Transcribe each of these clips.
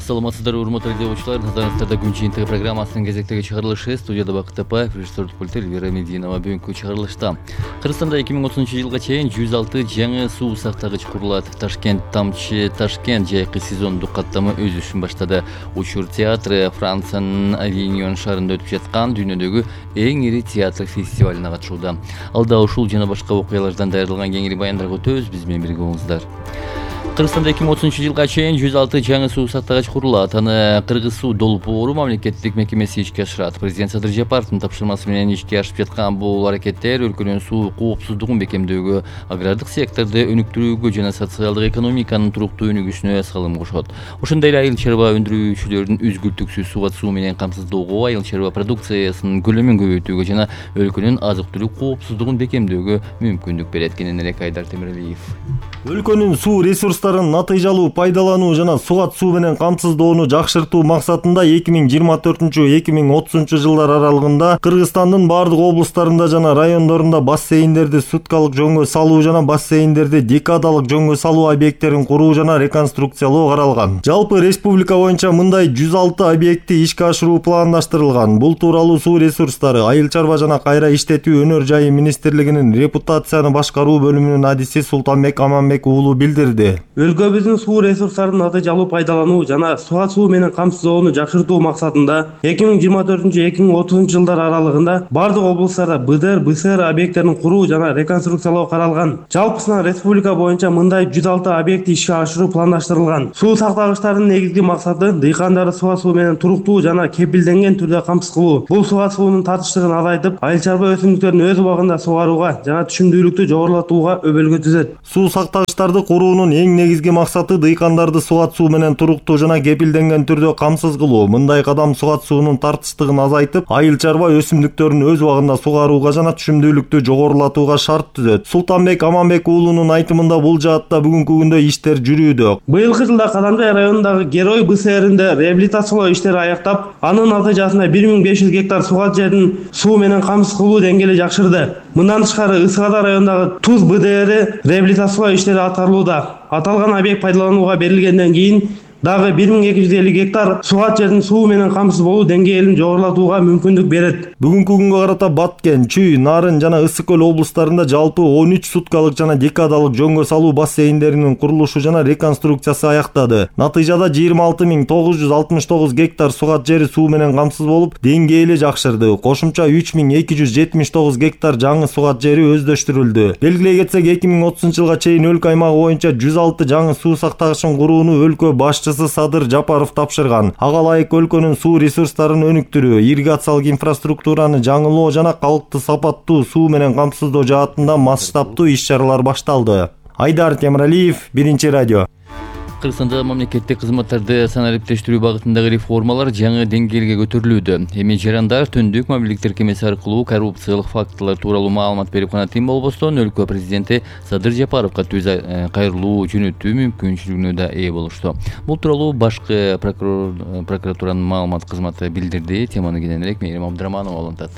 Саламатсыздар, урматтуу радиочулар. Назарыңыздарда күн жыйынтыгы программасынын кезектеги чыгарылышы. Студияда Бакыт Апаев, режиссер пульти Эльвира Мединова. Бүгүнкү чыгарылышта Кыргызстанда 2030-жылга чейин 106 жаңы суу сактагыч курулат. Ташкент тамчы Ташкент жайкы сезондук каттамы өз ишин баштады. Учур театры Франциянын Авиньон шаарында өтүп жаткан дүйнөдөгү эң ири театр фестивалына катышууда. Алда ушул жана башка окуялардан даярдалган кеңири баяндарга өтөбүз. Биз менен бирге болуңуздар. Кыргызстанда 2030-жылга чейин 106 жаңы суу сактагыч курулат. Аны Кыргыз суу долбоору мамлекеттик мекемеси ишке ашырат. Президент Садыр Жапаровдун тапшырмасы менен ишке ашып жаткан бул аракеттер өлкөнүн суу коопсуздугун бекемдөөгө, агрардык секторду өнүктүрүүгө жана социалдык экономиканын туруктуу өнүгүшүнө салым кошот. Ошондой эле айыл чарба өндүрүүчүлөрдүн үзгүлтүксүз суу менен камсыздоого, айыл чарба продукциясынын көлөмүн көбөйтүүгө жана өлкөнүн азык-түлүк коопсуздугун бекемдөөгө мүмкүндүк берет. Кененирээк Айдар Темиралиев. Өлкөнүн суу ресурстарын натыйжалуу пайдалануу жана сугат суу менен камсыздоону жакшыртуу максатында 2024-2030 жылдар аралыгында Кыргызстандын бардык облустарында жана райондорунда бассейндерди суткалык жөнгө салуу жана бассейндерди декадалык жөнгө салуу объекттерин куруу жана реконструкциялоо каралган. Жалпы республика боюнча мындай 106 объектти ишке ашыруу пландаштырылган. Бул тууралуу суу ресурстары, айыл чарба жана кайра иштетүү өнөр жайы министрлигинин репутацияны башкаруу бөлүмүнүн адиси Султанбек Аманбек уулу билдирди. Өлкөбүздүн суу ресурстарын натыйжалуу пайдалануу жана сугат суу менен камсыздоону жакшыртуу максатында 2024-2030 жылдар аралыгында бардык облустарда БДР, БСР объекттерин куруу жана реконструкциялоо каралган. Жалпысынан республика боюнча мындай 106 объекти ишке ашыруу пландаштырылган. Суу сактагычтардын негизги максаты дыйкандарды сугат суу менен туруктуу жана кепилденген түрдө камсыз кылуу. Бул сугат суунун татыштыгын азайтып, айыл чарба өсүмдүктөрүн өз убагында сугарууга жана түшүмдүүлүктү жогорулатууга өбөлгө түзөт. Суу сактагычтарды куруунун эң негизги максаты дыйкандарды сугат суу менен туруктуу жана кепилденген түрдө камсыз кылуу. Мындай кадам сугат суунун тартыштыгын азайтып, айыл чарба өсүмдүктөрүн өз убагында сугарууга жана түшүмдүүлүктү жогорулатууга шарт түзөт. Султанбек Аманбек уулунун айтымында бул жаатта бүгүнкү күндө иштер жүрүүдө. Быйылкы жылда Кадамжай районундагы Герой БСРинде реабилитациялоо иштери аяктап, анын натыйжасында 1500 гектар сугат жердин суу менен камсыз кылуу деңгээли жакшырды. Мындан тышкары Ысык-Ата районундагы Туз БДР реабилитациялоо иштери аткарылууда. Аталган объект пайдаланууга берилгенден кийин дагы 1250 гектар сугат жердин суу менен камсыз болуу деңгээлин жогорулатууга мүмкүндүк берет. Бүгүнкү күнгө карата Баткен, Чүй, Нарын жана Ысык көл облустарында жалпы 13 суткалык жана декадалык жөнгө салуу бассейндеринин курулушу жана реконструкциясы аяктады. Натыйжада 26969 гектар сугат жери суу менен камсыз болуп, деңгээли жакшырды. Кошумча 3279 гектар жаңы сугат жери өздөштүрүлдү. Белгилей кетсек, 2030 жылга чейин өлкө аймагы боюнча 106 жаңы суу сактагычын курууну өлкө башчысы Садыр Жапаров тапшырган. Ага ылайык өлкөнүн суу ресурстарын өнүктүрүү, ирригациялык инфраструктураны жаңылоо жана калкты сапаттуу суу менен камсыздоо жаатында масштабтуу иш-чаралар башталды. Айдар Темиралиев, Биринчи радио. Кыргызстанда мамлекеттик кызматтарды санариптештирүү багытындагы реформалар жаңы деңгээлге көтөрүлүүдө. Эми жарандар түндүк мобилдик тиркемеси аркылуу коррупциялык фактылар тууралуу маалымат берип гана тим болбостон, өлкө президенти Садыр Жапаровго түз кайрылуу жөнөтүү мүмкүнчүлүгүнө да ээ болушту. Бул тууралуу башкы прокуратуранын маалымат кызматы билдирди. Теманы кененирээк Мээрим Абдыраманова улантат.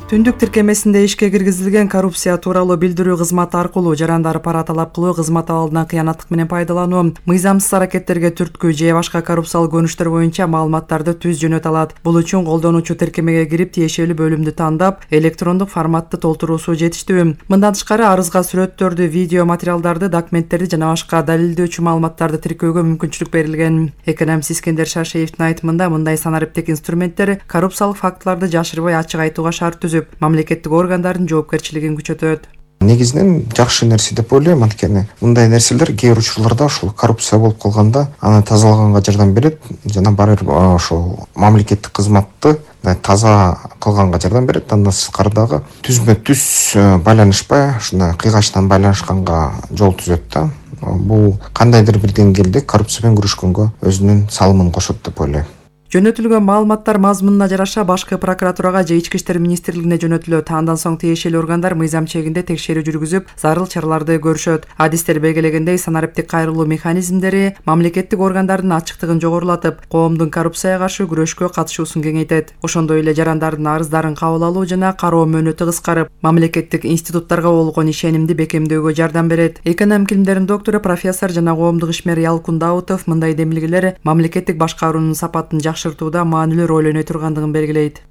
Түндүк тиркемесинде ишке киргизилген коррупция тууралуу билдирүү кызматы аркылуу жарандар пара талап кылуу, кызмат абалынан кыянаттык менен пайдалануу, мыйзамсыз аракеттерге түрткү же башка коррупциялык көрүнүштөр боюнча маалыматтарды түз жөнөтө алат. Бул үчүн колдонуучу тиркемеге кирип, тиешелүү бөлүмдү тандап, электрондук форматты толтуруусу жетиштүү. Мындан тышкары арызга сүрөттөрдү, видео материалдарды, документтерди жана башка далилдөөчү маалыматтарды тиркөөгө мүмкүнчүлүк берилген. Экономист Искендер Шашеевдин айтымында, мындай санариптик инструменттер коррупциялык фактыларды жашырбай ачык айтууга шарт түзүп, мамлекеттик органдардын жоопкерчилигин күчөтөт. Негизинен жакшы нерсе деп ойлойм, анткени мындай нерселер кээ бир учурларда ушул коррупция болуп калганда аны тазалаганга жардам берет жана барып ошол мамлекеттик кызматты таза кылганга жардам берет. Андан сырткары дагы түзмө-түз байланышпай, ушундай кыйгачтан байланышканга жол түзөт да. Бул кандайдыр бир деңгээлде коррупция менен күрөшкөнгө өзүнүн салымын кошот деп ойлойм. Жөнөтүлгөн маалыматтар мазмунуна жараша башкы прокуратурага же Ички иштер министрлигине жөнөтүлөт. Андан соң тиешелүү органдар мыйзам чегинде текшерүү жүргүзүп, зарыл чараларды көрүшөт. Адистер белгилегендей, санариптик кайрылуу механизмдери мамлекеттик органдардын ачыктыгын жогорулатып, коомдун коррупцияга каршы күрөшкө катышуусун кеңейтет. Ошондой эле жарандардын арыздарын кабыл алуу жана кароо мөөнөтү кыскарып, мамлекеттик институттарга болгон ишенимди бекемдөөгө жардам берет. Экономика илимдеринин доктору, профессор жана коомдук ишмер Ялкун Даутов мындай демилгелер мамлекеттик башкаруунун сапатын жакшыртууда маанилүү роль ойной тургандыгын белгилейт.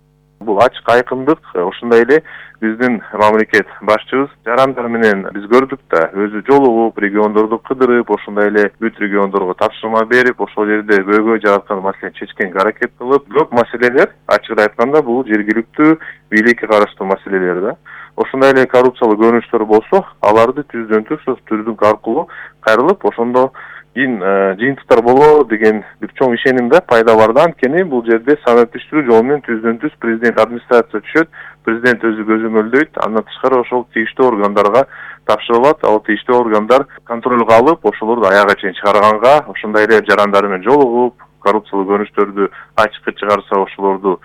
Бул ачык айкындык, ошондой эле биздин мамлекет башчыбыз жарандар менен биз көрдүк да, өзү жолугуп, региондорду кыдырып, ошондой эле бүт региондорго тапшырма берип, ошол жерде көйгөй жараткан маселени чечкенге аракет кылып, көп маселелер ачыгын айтканда бул жергиликтүү бийликке караштуу маселелер да. Ошондой эле коррупциялык көрүнүштөр болсо, аларды түздөн түз түрдүк аркылуу кайрылып, ошондо жыйынтыктар болот деген бир чоң ишеним да пайда бар да. Анткени бул жерде санатташтыруу жолу менен түздөн түз президент администрация түшөт, президент өзү көзөмөлдөйт, андан тышкары ошол тийиштүү органдарга тапшырылат. Ал тийиштүү органдар контролго алып, ошолорду аягына чейин чыгарганга, ошондой эле жарандар менен жолугуп, коррупциялык көрүнүштөрдү ачыкка чыгарса, ошолорду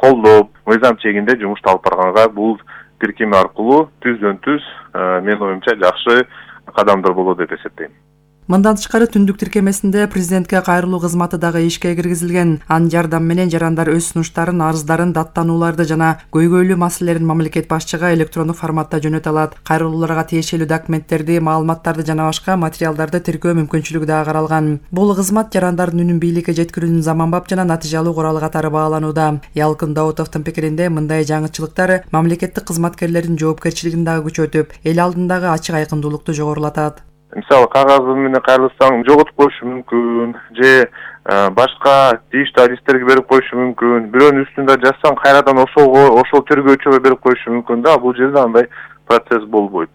колдоп, мыйзам чегинде жумушту алып барганга бул тиркеми аркылуу түздөн түз менин оюмча жакшы кадамдар болот деп эсептейм. Мындан тышкары түндүк тиркемесинде президентке кайрылуу кызматы дагы ишке киргизилген. Анын жардамы менен жарандар өз сунуштарын, арыздарын, даттанууларды жана көйгөйлүү маселелерин мамлекет башчыга электрондук форматта жөнөтө алат. Кайрылууларга тиешелүү документтерди, маалыматтарды жана башка материалдарды тиркөө мүмкүнчүлүгү дагы каралган. Бул кызмат жарандардын үнүн бийликке жеткирүүнүн заманбап жана натыйжалуу куралы катары бааланууда. Ялкын Даутовдун пикиринде, мындай жаңычылыктар мамлекеттик кызматкерлердин жоопкерчилигин дагы күчөтүп, эл алдындагы ачык айкындуулукту жогорулатат. Мисалы кагаз менен кайрылсаң жоготуп коюшу мүмкүн, же башка тийиштүү адистерге берип коюшу мүмкүн. Бирөөнүн үстүндө жазсаң кайрадан ошол тергөөчүгө берип коюшу мүмкүн да. Бул жерде андай процесс болбойт.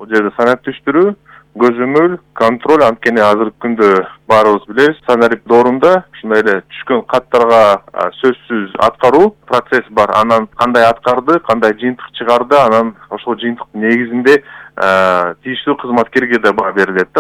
Бул жерде санатташтыруу, көзөмөл, контроль, анткени азыркы күндө баарыбыз билебиз, санарип доорунда ушундай эле түшкөн каттарга сөзсүз аткаруу процесс бар. Анан кандай аткарды, кандай жыйынтык чыгарды, анан ошол жыйынтыктын негизинде тийиштүү кызматкерге да баа берилет да.